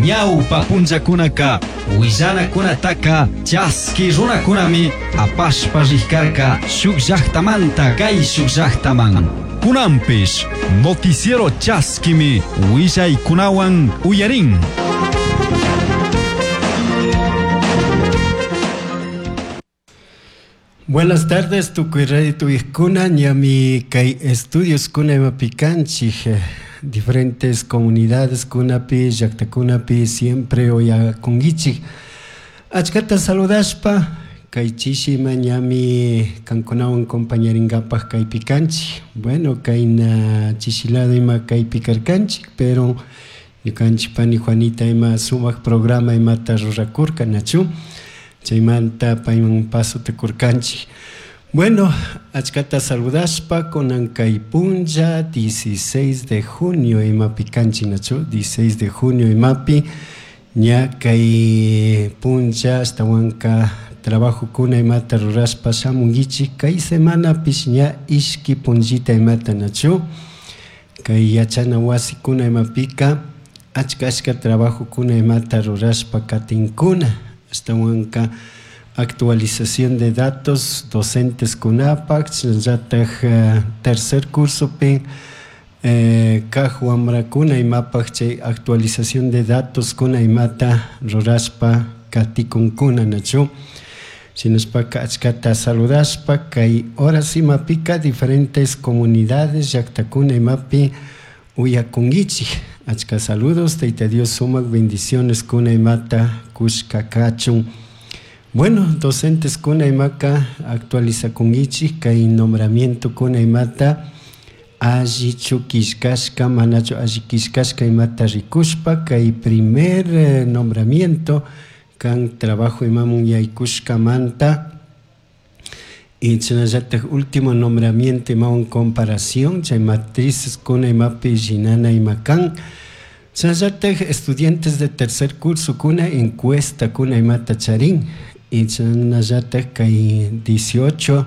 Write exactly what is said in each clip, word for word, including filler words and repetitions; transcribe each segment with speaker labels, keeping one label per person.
Speaker 1: Ñawpa punllakunaka willanakunataka chaski runakunami apashpa rikarka shuk llaqtamanta kay shuk llaqtaman. Kunanpish noticiero chaskimi willaykunawan uyarin.
Speaker 2: Buenas tardes, tukuy radio tuyqkuna, ñami kay estudios kuna imapi kanchik, diferentes comunidades kunapi, llaqtakunapi siempre uyakunkichik. Achkata saludashpa, kay chishima ñami kankunawan compañarinkapak kaypi kanchik. Bueno, kayna chishilado ima kaypi karkanchik, pero ñukanchik pani Juanita ima sumak programa imata rurakurka, nachu? Chaymanta payman pasota kurkanchik. Bueno, achkata saludashpa kunan kay punlla dieciséis de junio imapi kanchik, nachu? dieciséis de junio imapi ña kay punlla ashtawanka trabajo kuna imata rurashpa shamunkichik. Kay semanapish ña ishki punllita imata, nachu? Kay yachana wasikuna imapika achka achka trabajo kuna imata rurashpa katinkuna. Ashtawanka actualización de datos docentes kunapak, chayllatak tercer cursopi eh, kaj wamrakuna imapak chay actualización de datos kuna imata rurashpa katikunkuna, nachu? Shinashpaka achkata saludashpa kay horas imapika diferentes comunidades llaqtakuna imapi uyakunkichik. Achka saludos, Tayta Dios sumak bendiciones kuna imata kushka kachun. Bueno, docentes kuna imaka actualizakunkichik kay nombramiento kuna imata allichu killkashka manachu alli killkashka imata rikushpa kay primer eh, nombramiento kan trabajo imamun yaykushkamanta y chaynallatak último nombramiento imawan comparación chay matrices kuna imapi llinana ima kan. Chaynallatak estudiantes de tercer curso kuna encuesta kuna imata charin y chaynallatak kay dieciocho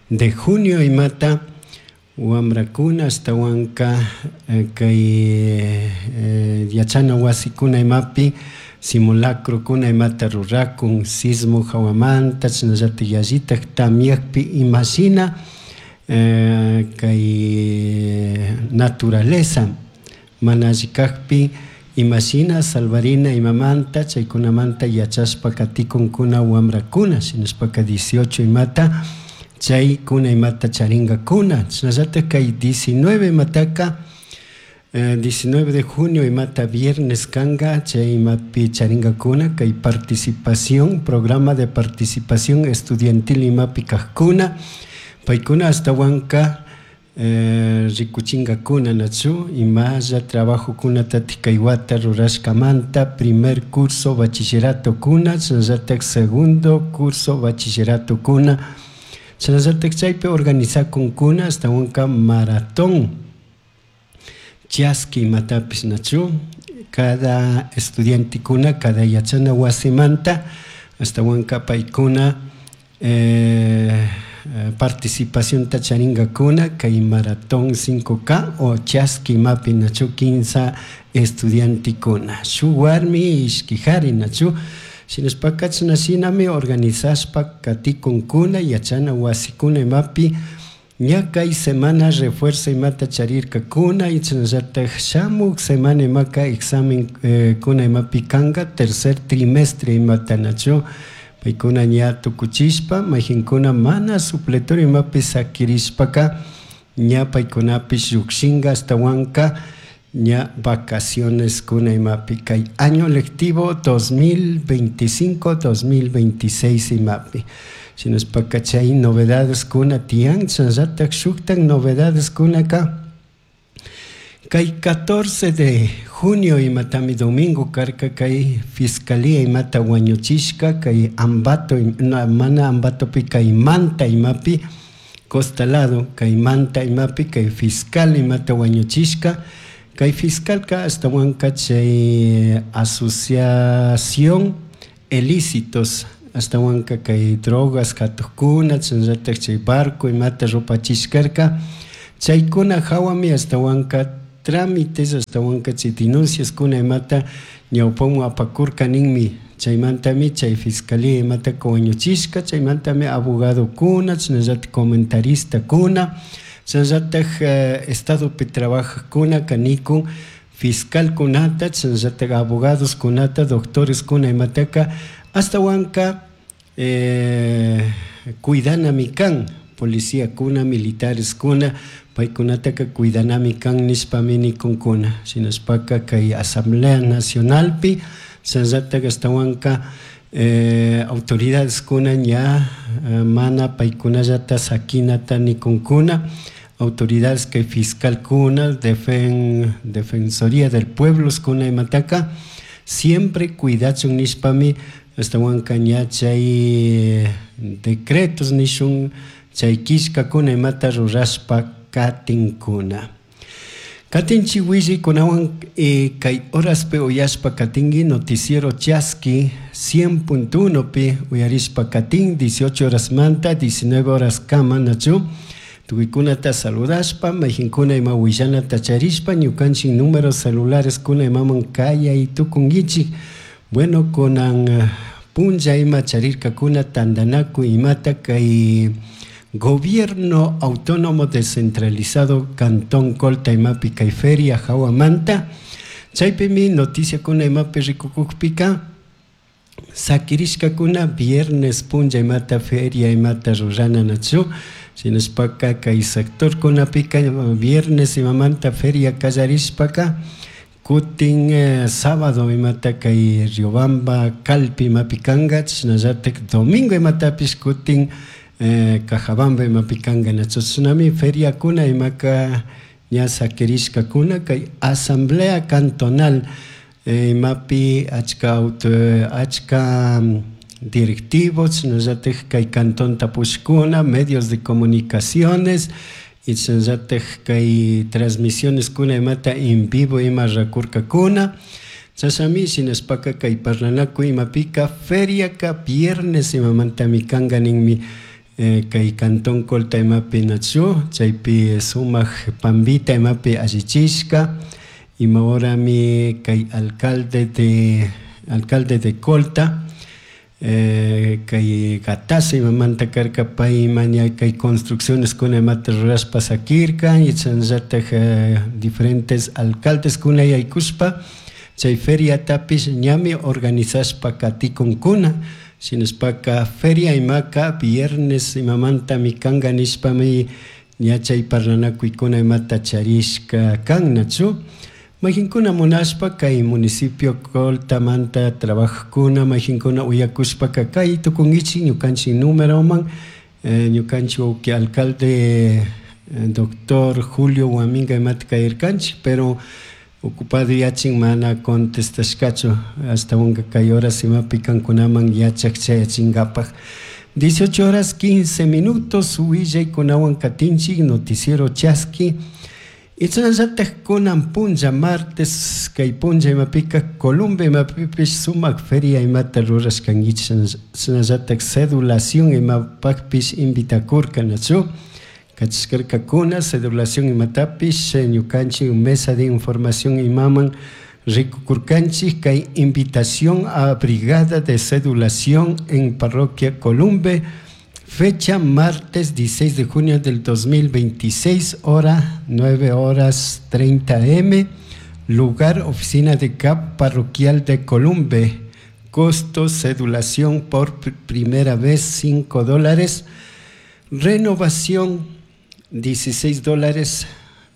Speaker 2: de junio imata wamrakuna ashtawanka eh, kay eh, yachana wasikuna imapi simulacro kuna imata rurakun sismo hawamanta chaynallatak yallitak tamyakpi imashina eh, kay naturaleza mana alli kakpi imashina salvarina imamanta chaykunamanta yachashpa katikunkuna wamrakuna shinashpaka dieciocho imata chaykuna imata charinkakuna. Chaynallatak kay diecinueve imataka eh, diecinueve de junio imata viernes kanga chay imapi charinkakuna kay participación programa de participación estudiantil imapi kajkuna paykuna ashtawanka eh, rikuchinkakuna, nachu? Imalla trabajo kunatatik kay wata rurashkamanta primer curso bachillerato kuna chaynallatak segundo curso bachillerato kuna chaynallatak chaypi organizakunkuna ashtawanka maratón chaski imatapis, nachu? Cada estudiante kuna cada yachana wasimanta ashtawanka paykuna eh, participación charingakuna kay maratón cinco K o chaski imapi, nachu? Kinsa estudiantekuna shuk warmi ishki kari, nachu? Shinashpaka chashnashinami organizashpa katikunkuna yachana wasikuna imapi ña kay semana refuerzo imata charirkakuna y chaynallatak shamuk semana imaka examen eh, kuna imapi kanka tercer trimestre imata, nachu? Paykuna ña tukuchishpa mayjinkuna mana supletorio imapi sakirishpaka ña paykunapish llukshinka ashtawanka ña vacaciones kuna imapi kay año lectivo dos mil veinticinco dos mil veintiséis imapi. Shinashpaka chay novedades kuna tiyan, chaynallatak shuktak novedades kunaka kay catorce de junio imatami domingo karka kay fiscalía imata wañuchishka kay Ambato, no, mana Ambatopi kay Manta imapi costa lado kay Manta imapi kay fiscal imata wañuchishka kay fiscalka ashtawanka chay asociación ilícitos ashtawanka kay drogas katukkuna chaynallatak chay barco imata rupachishkarka chaykuna hawami ashtawanka trámites ashtawanka chay denunciaskuna imata ñawpaman apakurka ninmi. Chaymantami chay fiscalía imataka wañuchishka, chaymantami abogadokuna, chashnallatak comentaristakuna, chashnallatak estadopi trabajajkunaka nikun fiscalkunata, chashnallatak abogadoskunata, doctoreskuna imataka ashtawanka eh, cuidanami kan, policiakuna, militareskuna, paykunataka cuidanami kan nishpami nikunkuna. Shinashpaka kay Asamblea Nacionalpi chashnallatak ashtawanka eh, autoridadeskuna ña eh, mana paykunallata sakinata nikunkuna, autoridades kay fiscalkuna, defen, defensoría del pueblo kuna imataka siempre cuidachun nishpami ashtawanka ña chay decretos nishun chay killkakuna imata rurashpa katinkuna. Katinchik willaykunawan eh, kay horaspi uyashpa katinki noticiero Chaski cien punto uno pi uyarishpa katin dieciocho horas manta diecinueve horas kama nachu tukuykunata saludashpa mayjinkuna ima willanata charishpa ñukanchik números celulares kuna imaman kayay tukunkichik. Bueno, kunan punlla ima charirkakuna tantanakuy imata kay Gobierno Autónomo Descentralizado Cantón Colta imapi kay feria hawamanta. Chaypimi noticiakuna imapi rikukukpika sakirishkakuna viernes punlla imata feria imata rurana nachu. Shinashpaka kay sectorkunapika viernes imamanta feria kallarishpaka kutin eh, sábado imata kay Riobamba Calpi imapi kanka, chashnallatak domingo imatapish kutin eh, Cajabamba imapi kanka nachu. Chashnami feriakuna imaka ña sakirishkakuna kay asamblea cantonal eh, imapi achka auto, achka directivos, chashnallatak kay cantón tapushkuna, medios de comunicaciones y chashnallatak kay transmisiones kuna imata en vivo ima rakurkakuna. Chashami shinashpaka kay parlanakuy imapika feriaka viernes imamantami kanka ninmi eh, kay cantón Colta imapi nachu, chaypi sumak pambita imapi allichishka ima horami kay alcalde de alcalde de Colta eh, kay Gatasa imamanta karka pay maña kay construcciones kuna imata rurashpa sakirka y chashnallatak eh, diferentes alcaldes kuna yaykushpa chay feriatapish ñami organizashpa katikunkuna. Shinashpaka feria imaka viernes imamantami kanka nishpami ña chay parlanakuykuna imata charishka kan nachu. Mayjinkuna munashpa kay municipio Coltamanta trabajkuna mayjinkuna uyakushpaka kay tukunkichik ñukanchik numeroman eh, ñukanchik wawki alcalde eh, doctor Julio Huaminga imata kayarkanchik, pero ocupado yachin mana contestashkachu ashtawanka kay horas imapi kankunaman yachak chayachinkapak. dieciocho horas quince minutos willaykunawan katinchik noticiero Chaski. Y chashnallatak kunan punlla martes kay punlla imapika Colombia imapipish sumak feria imata rurashkankichik, chashnallatak cedulación imapakpish invitakurka nachu. Kachishkarkakuna cedulación imatapish ñukanchik mesa de información imaman rikukurkanchik kay invitación a brigada de cedulación en parroquia Columbe, fecha martes dieciséis de junio del dos mil veintiséis, hora nueve horas treinta eme, lugar oficina de C A P parroquial de Columbe, costo cedulación por pr-, primera vez cinco dólares, renovación dieciséis dólares,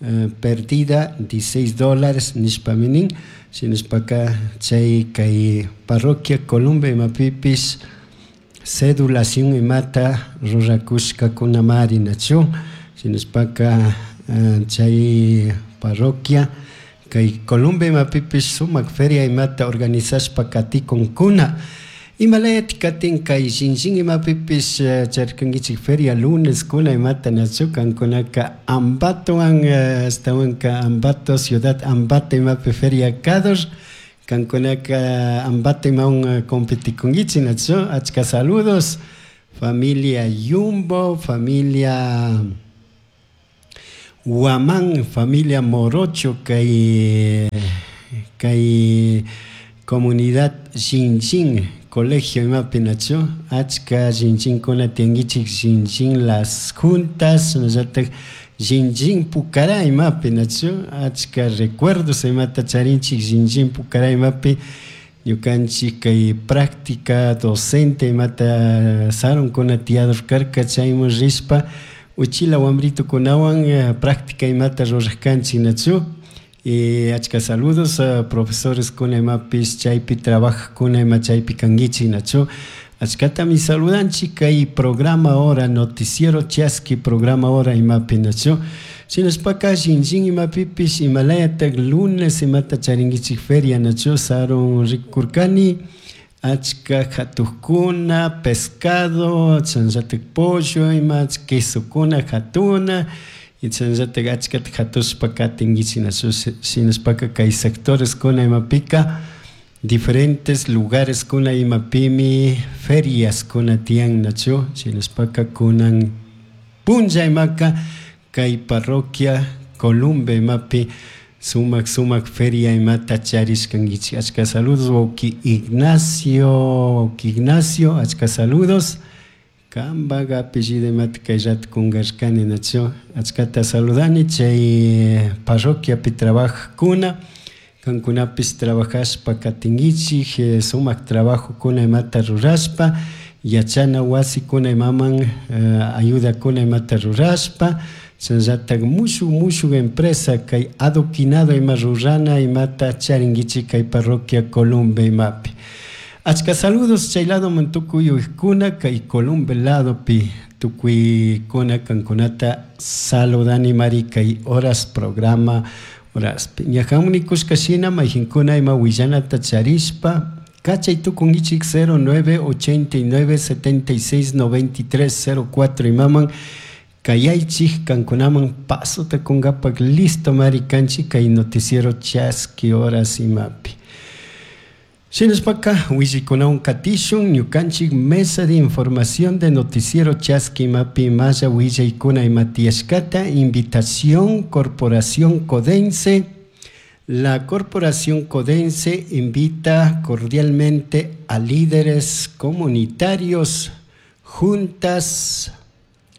Speaker 2: eh, perdida dieciséis dólares nishpaminin, shinashpaka chay kay parroquia Columbe imapipis cedulación imata rurakushkakunamari nachu, shinashpaka, eh, chay parroquia kay Columbe imapipis sumak feria imata organizashpa katikunkuna. Imalayat katin kay shinshing imapipis, eh, charkankichik feria lunes kuna imata nachu kankunaka Ambatowan, eh, ashtawanka Ambato ciudad Ambato imapi feria kador kankunaka Ambato imawan, eh, competikunkichik nachu. Achka saludos familia Yumbo, familia Guamán, familia Morocho, kay kay comunidad Xinxin, colegio imapi nachu, achka Xinxinkuna tiyankichik Xinxin Las Juntas, shinallatak Xinxin Pucará imapi nachu, achka recuerdos imata charinchik Xinxin Pucará imapi, ñukanchik kay práctica docente imata sarunkuna tiyador karka chayman rishpa uchila wambritukunawan práctica imata rurajkanchik nachu. Y achka saludos a profesores kuna imapish chaypi trabajajkuna ima chaypi kankichik nachu. Achkatami saludanchik kay programa hora noticiero Chaski programa hora imapi nachu. Shinashpaka Xinxin imapipish imalayatak lunes imata charinkichik feria nachu sarun rikurkani achka hatukuna pescado chasnallatak pollo ima quesokuna hatuna y chasnallatak achkata hatushpa katinkichik nachu. Shinashpaka kay sectores kuna imapika diferentes lugares kuna imapimi ferias kuna tiyan nachu. Shinashpaka kunan punlla imaka kay parroquia Columbe imapi sumak sumak feria imata charishkankichik. Achka saludos wawki Ignacio, wawki Ignacio, achka saludos. Kampak apellido imata kay rato kunkarkani nachu. Achkata saludani chay parroquiapi trabajajkuna, kankunapish trabajashpa katinkichik, sumak trabajokuna imata rurashpa, yachana wasikuna imaman ayudakuna imata rurashpa, chasnallatak mushuk mushuk empresa kay adoquinado ima rurana imata charinkichik kay parroquia Columbe imapi. Achka saludos chay ladoman tukuy uykuna kay Columbe ladopi tukuykuna kankunata saludani mari kay horas programa horaspi. Ñahamuni kushka shina mayjinkuna ima willanata charishpa kachay tukunkichik cero nueve ochenta y nueve setenta y seis noventa y tres cero cuatro imaman kayaychik kankunaman pasota kunkapak listo mari kanchik kay noticiero Chaski horas imapi. Shinashpaka willikunawan katishun ñukanchik mesa de información de noticiero Chaski imapi maya willaykuna ima tiyashkata. Invitación Corporación Codense. La Corporación Codense invita cordialmente a líderes comunitarios, juntas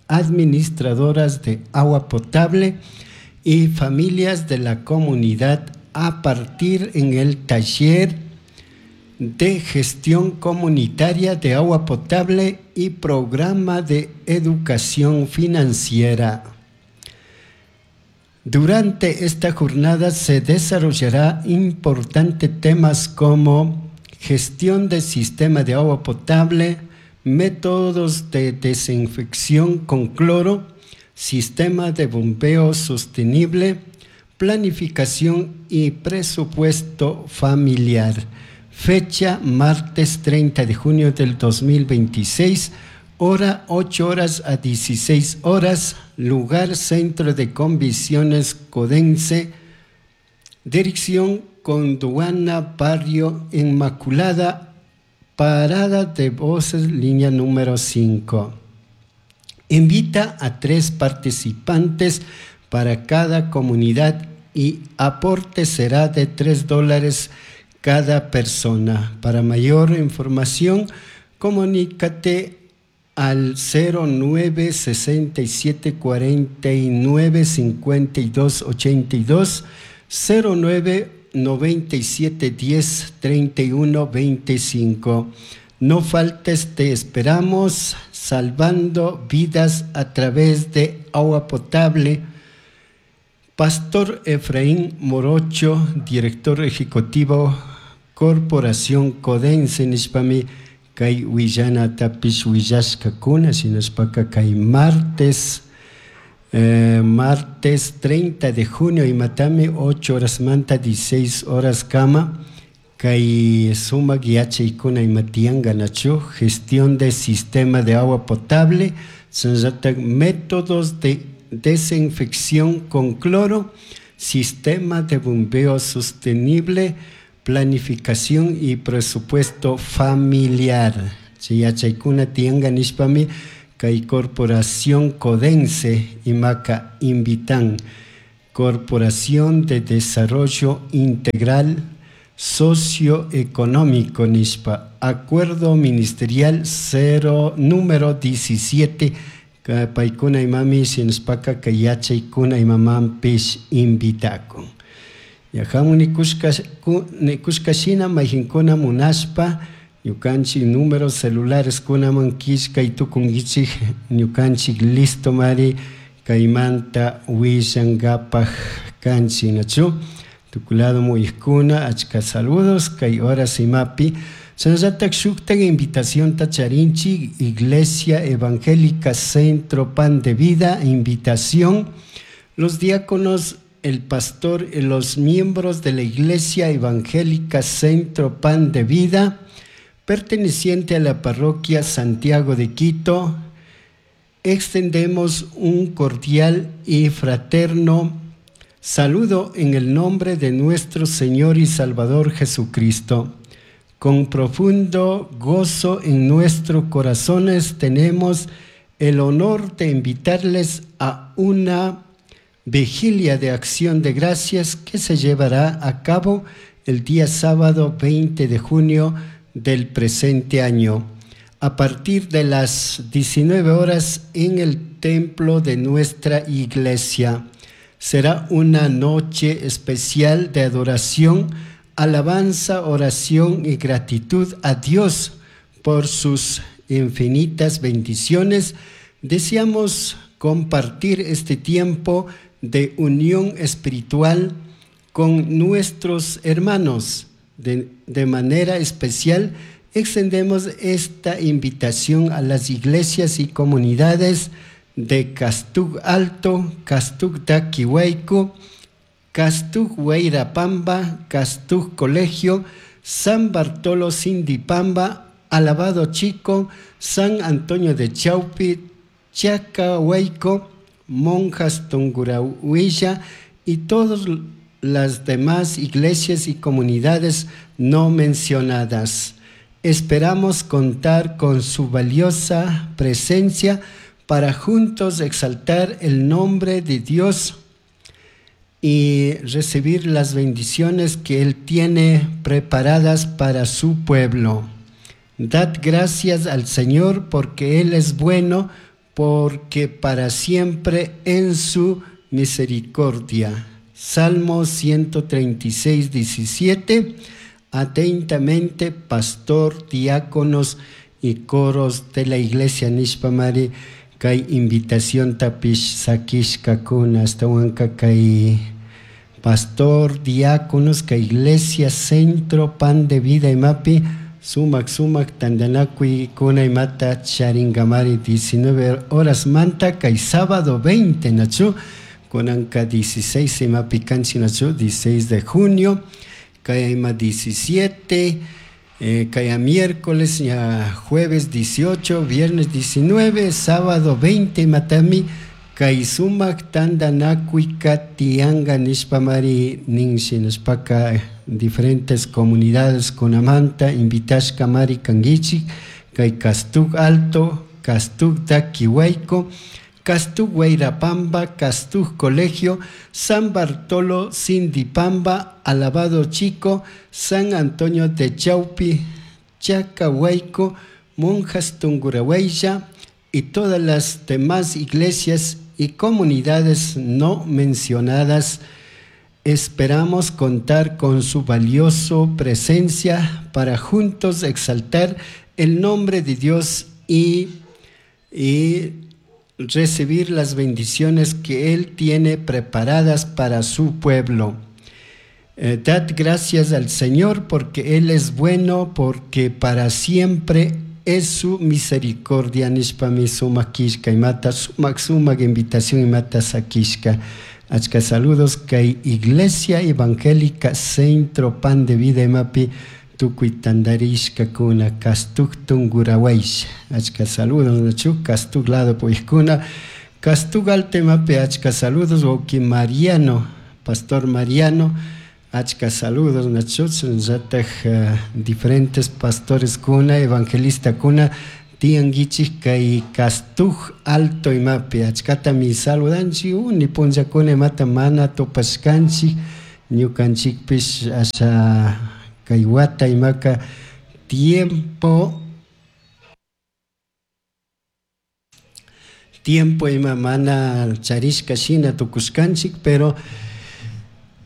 Speaker 2: administradoras de agua potable y familias de la comunidad a partir en el taller de gestión comunitaria de agua potable y programa de educación financiera. Durante esta jornada se desarrollará importantes temas como gestión del sistema de agua potable, métodos de desinfección con cloro, sistema de bombeo sostenible, planificación y presupuesto familiar. Fecha martes treinta de junio del dos mil veintiséis, hora ocho horas a dieciséis horas, lugar Centro de Convenciones Codense, dirección Conduana, Barrio Inmaculada, parada de voces, línea número cinco. Invita a tres participantes para cada comunidad y aporte será de tres dólares cada persona. Para mayor información, comunícate al cero nueve sesenta y siete cuarenta y nueve cincuenta y dos ochenta y dos, cero nueve noventa y siete diez treinta y uno veinticinco. No faltes, te esperamos salvando vidas a través de agua potable. Pastor Efraín Morocho, director ejecutivo Corporación Codense, nishpami kay willana tapish willashkakuna, shinashpaka kay martes, eh, martes treinta de junio imatami ocho horas manta dieciséis horas kama kay sumak yachaykuna imatiyanka nachu, gestión de sistema de agua potable, shinashatak métodos de desinfección con cloro, sistema de bombeo sostenible, planificación y presupuesto familiar. Chay yachaykuna tiyanka nishpami kay Corporación Codense imaka invitan Corporación de Desarrollo Integral Socioeconómico nishpa Acuerdo Ministerial cero número diecisiete paykuna imami shinashpaka kay yachaykuna imamanpish invitakun. Yajamun nikushka shina mayjinkuna munashpa ñukanchik números celulares kunaman killkay tukunkichik ñukanchik listo mari kaymanta willankapak kanchik nachu tukulado muyijkuna achka saludos kay horas imapi shinallatak shuktak invitacionta charinchik Iglesia Evangélica Centro Pan de Vida invitación los diáconos el pastor y los miembros de la Iglesia Evangélica Centro Pan de Vida perteneciente a la parroquia Santiago de Quito, extendemos un cordial y fraterno saludo en el nombre de nuestro Señor y Salvador Jesucristo. Con profundo gozo en nuestros corazones tenemos el honor de invitarles a una vigilia de acción de gracias que se llevará a cabo el día sábado veinte de junio del presente año, a partir de las diecinueve horas en el templo de nuestra iglesia. Será una noche especial de adoración, alabanza, oración y gratitud a Dios por sus infinitas bendiciones. Deseamos compartir este tiempo de unión espiritual con nuestros hermanos. De, de manera especial, extendemos esta invitación a las iglesias y comunidades de Castug Alto, Castug Daquihuayco, Castug Huayrapamba, Castug Colegio, San Bartolo Sindipamba, Alabado Chico, San Antonio de Chaupi, Chacahuayco, Monjas Tungurahuilla y todas las demás iglesias y comunidades no mencionadas. Esperamos contar con su valiosa presencia para juntos exaltar el nombre de Dios y recibir las bendiciones que Él tiene preparadas para su pueblo. Dad gracias al Señor porque Él es bueno, porque para siempre en su misericordia. Salmo ciento treinta y seis, diecisiete. Atentamente, pastor, diáconos y coros de la iglesia Nishpamari, kay invitación tapish sakishka kuna hasta huanca kay pastor, diáconos, kay iglesia Centro Pan de Vida imapi, sumak sumak tandanakui kuna imata charingamari diecinueve horas manta kay sábado veinte nachu, kunanka dieciséis imapi kanchi nachu, dieciséis de junio, kay ima diecisiete, eh, kaya miércoles, ya jueves dieciocho, viernes diecinueve, sábado veinte matami, kay sumak tandanakuika tianga nishpamari ninshi nishpaka diferentes comunidades kunamanta invitashka mari kangichik, kay Castug Alto, Castug Daquihuayco, Castug Huayrapamba, Castug Colegio, San Bartolo Sindipamba, Alabado Chico, San Antonio de Chaupi, Chacahuayco, Monjas Tungurahuaya y todas las demás iglesias y comunidades no mencionadas. Esperamos contar con su valiosa presencia para juntos exaltar el nombre de Dios y, y recibir las bendiciones que Él tiene preparadas para su pueblo. Eh, dad gracias al Señor porque Él es bueno, porque para siempre es su misericordia. Nishpami sumak kishka imata sumak sumak invitación imata sakishka. Achka saludos kay Iglesia Evangélica Centro Pan de Vida imapi tukuy tandarishka kuna Castug Tungurahuaysha. Achka saludos nachu Castug lado puijkuna Castug Alto imapi achka saludos wawki Mariano, Pastor Mariano, achka saludos nachu zataj uh, diferentes pastores kuna evangelista kuna Tiyanguichik kay Castuj Alto imapi achkatami saludanchik uni punllakuna imata mana tupashkanchik ñukanchikpish asha kay wata imaka tiempo tiempo ima mana charishka shina tukushkanchik pero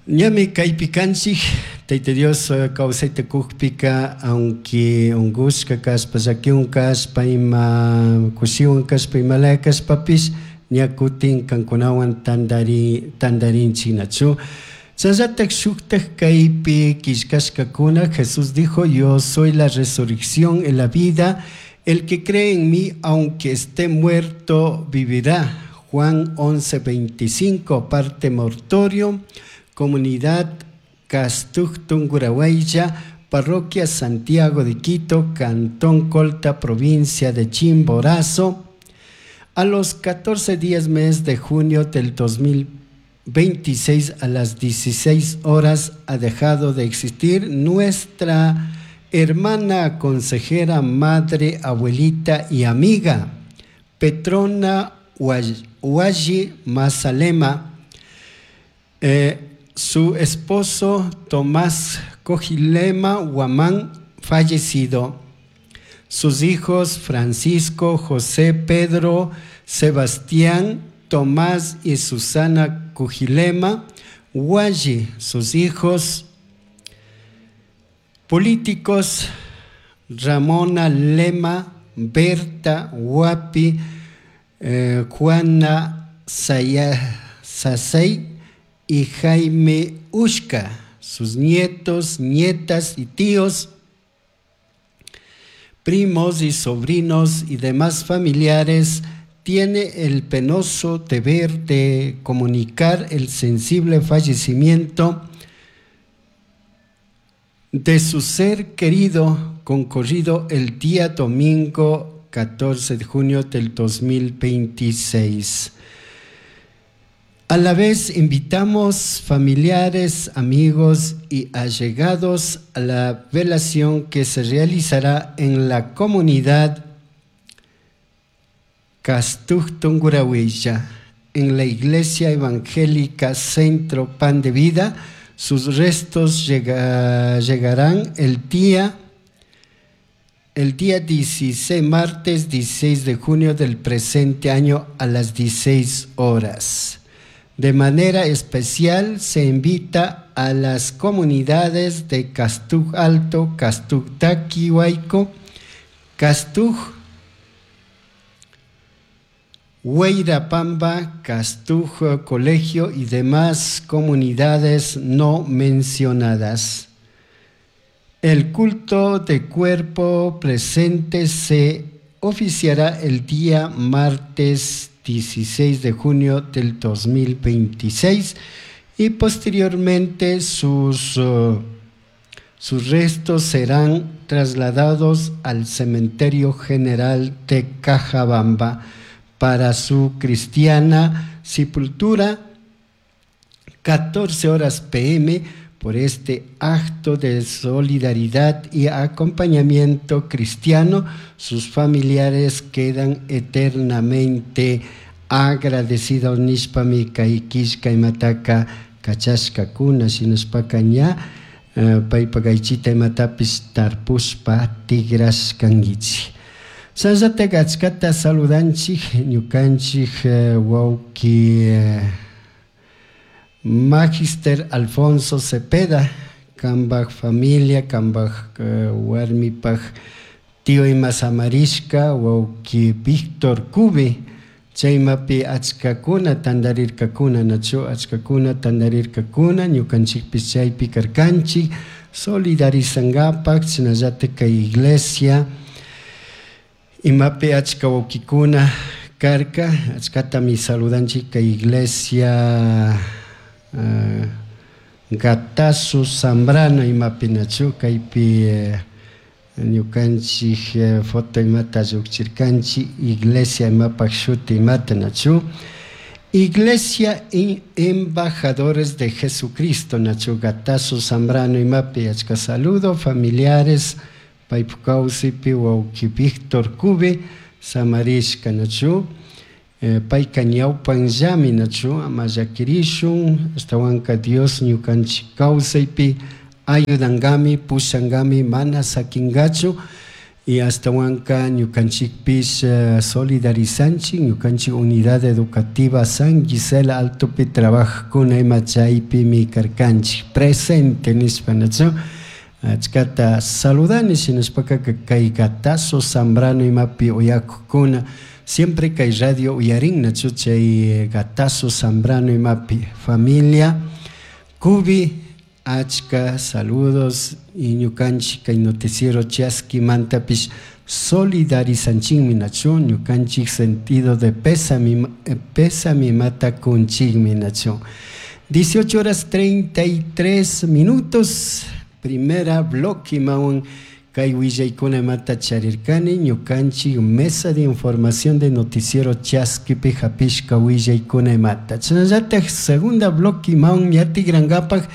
Speaker 2: ñami kaypi kanchik Tayta Dios kawsayta kukpika aunque unkushka kashpa llakiwan kashpa ima kushiwan kashpa imalaya kashpapish ña kutin kankunawan tantari tantarinchik nachu. Chasllatak shuktak kaypi killkashkakuna Jesús dijo: yo soy la resurrección y la vida, el que cree en mí aunque esté muerto vivirá. Juan once veinticinco, parte mortorio, comunidad Castuj Tungurahua, parroquia Santiago de Quito, Cantón Colta, provincia de Chimborazo. A los catorce días mes de junio del dos mil veintiséis a las dieciséis horas ha dejado de existir nuestra hermana, consejera, madre, abuelita y amiga, Petrona Hualli Mazalema. Eh, su esposo Tomás Cojilema Guamán, fallecido. Sus hijos Francisco, José, Pedro, Sebastián, Tomás y Susana Cojilema Hualli. Sus hijos políticos Ramona Lema, Berta Huapi, eh, Juana Sasey y Jaime Ushka, sus nietos, nietas y tíos, primos y sobrinos y demás familiares, tiene el penoso deber de comunicar el sensible fallecimiento de su ser querido, concurrido el día domingo catorce de junio del dos mil veintiséis. A la vez invitamos familiares, amigos y allegados a la velación que se realizará en la comunidad Castuj Tungurahua, en la Iglesia Evangélica Centro Pan de Vida. Sus restos llega, llegarán el día, el día dieciséis, martes dieciséis de junio del presente año a las dieciséis horas. De manera especial se invita a las comunidades de Castuj Alto, Castuj Taquihuayco, Castuj Huayrapamba, Castuj Colegio y demás comunidades no mencionadas. El culto de cuerpo presente se oficiará el día martes dieciséis de junio del dos mil veintiséis y posteriormente sus, uh, sus restos serán trasladados al Cementerio General de Cajabamba para su cristiana sepultura, catorce horas P M, por este acto de solidaridad y acompañamiento cristiano, sus familiares quedan eternamente agradecidos. Nishpami kay killka imataka kachashkakuna, shinashpaka ña paypa kaychita imatapish tarpushpa tigrashkankichik. Sashatak achkata saludanchik ñukanchik wawki Magister Alfonso Cepeda, kambaj familia, kambaj warmipaj tío ima samarishka, wawki Víctor Cubi, chaymapi achkakuna tantarirkakuna, nachu achkakuna tantarirkakuna, ñukanchikpish chaypi karkanchik, solidarizankapak, shinallatak kay iglesia, imapi achka wawkikuna karka, achkatami saludanchik kay iglesia Uh, Gatazo Zambrano imapi nachu kaypi eh, ñukanchik eh, foto imata llukchirkanchik iglesia imapaj shuti imata nachu Iglesia y Embajadores de Jesucristo nachu Gatazo Zambrano imapi achka saludo familiares Paypuk kawsaypi wawki Víctor Cubi samarishka nachu eh, payka ñawpanllami nachu ama llakirishun ashtawanka Dios ñukanchik kawsaypi ayudankami pushankami mana sakinkachu y ashtawanka ñukanchikpish uh, solidarizanchik ñukanchik unidad educativa San Gisela Altopi trabajakuna ima chaypimi karkanchik presente nishpa nachu achkata saludani shinashpaka kay Gatazo Zambrano imapi uyakukuna siempre kay radio uyarin nachu chay Gatazo Zambrano imapi familia Cubi achka saludos y ñukanchik kay noticiero chaskimantapish solidarizanchikmi nachu ñukanchik sentido de pésame pésame imata kunchikmi nachu dieciocho horas treinta y tres minutos primera bloque imawan kay willaykuna imata charirkani ñukanchik mesa de información de noticiero chaskipi hapishka willaykuna imata chashnallatak segunda bloque imawan ñatikrankapak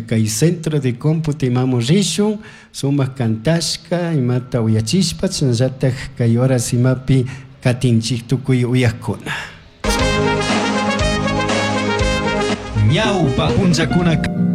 Speaker 2: kay centro de cómputo imamun rishun sumak kantashka imata uyachishpa chashnallatak kay horas imapi katinchik tukuy uyakkuna.
Speaker 1: Ñawpa punllakuna.